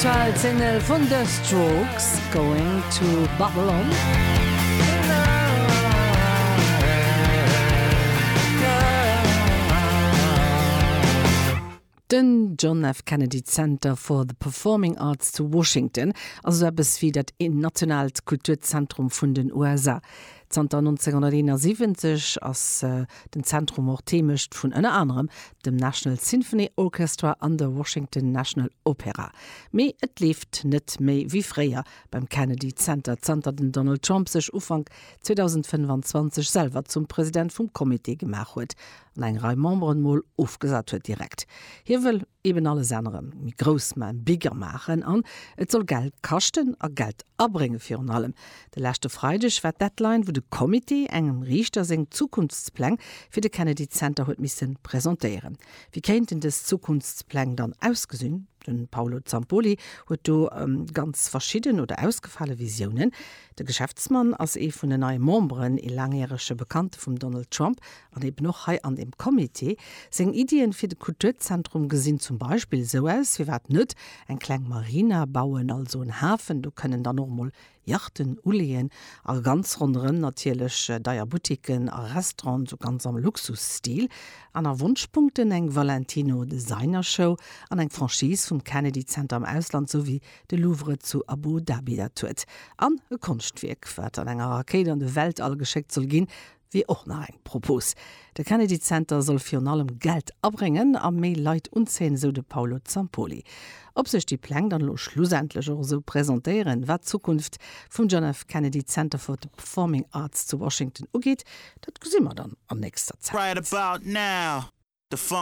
Aktuell Single vun The Strokes, Going to Babylon. Den John F. Kennedy Center for the Performing Arts zu Washington ass esou eppes wéi dat nationaalt Kulturzentrum vun den USA. Zanter 1971 ass den Zentrum och d'Heemecht vun ënner anerem dem National Symphony Orchestra an der Washington National Opera. Mee et leeft net méi wéi fréier beim Kennedy Center, zanter den Donald Trump sech Ufank 2025 selwer zum President vum Comité gemaach huet an eng Rei Memberen mol ofgesat huet direkt. Hie wëll eben alles änneren, méi grouss man, bigger maachen an et soll Geld kaschten a Geld abrénge virun allem. De leschte Freideg war d'Deadline, wou de Comité engem Riichter seng Zukunftspläng fir de Kennedy Center huet misse presentéieren. Wéi kéinten dës Zukunftspläng dann ausgesinn? De Paolo Zampolli huet do ganz verschidden oder ausgefale Visiounen. De Geschäftsmann ass ee vun den neie Memberen, ee laangjärege Bekannte vum Donald Trump an eben och hei an deem Comité. Seng Iddien fir de Kulturzentrum gesinn zum Beispill esou aus, Firwat net eng kleng Marina bauen, also en Hafen, do kënnen dann och mol Yachten uleeën a ganz ronderëm natierlech deier Boutiquen a Restauranten, sou ganz am Luxusstil. Aner Wonschpunkten, eng Valentino Designer Show an eng Franchise vum Kennedy Center am Ausland, sou wéi de Louvre zu Abu Dhabi dat huet. An e Konschtwierk, wat an enger Rakéit an de Weltall geschéckt soll ginn, wier och nach eng Propos. De Kennedy Center soll virun allem Geld abréngen a méi Leit unzéien, esou de Paolo Zampolli. Ob sech déi Pläng dann elo schlussendlech och esou presentéieren, wat d'Zukunft vum John F. Kennedy Center for the Performing Arts zu Washington ugeet, dat gesi mer dann an nächster Zäit.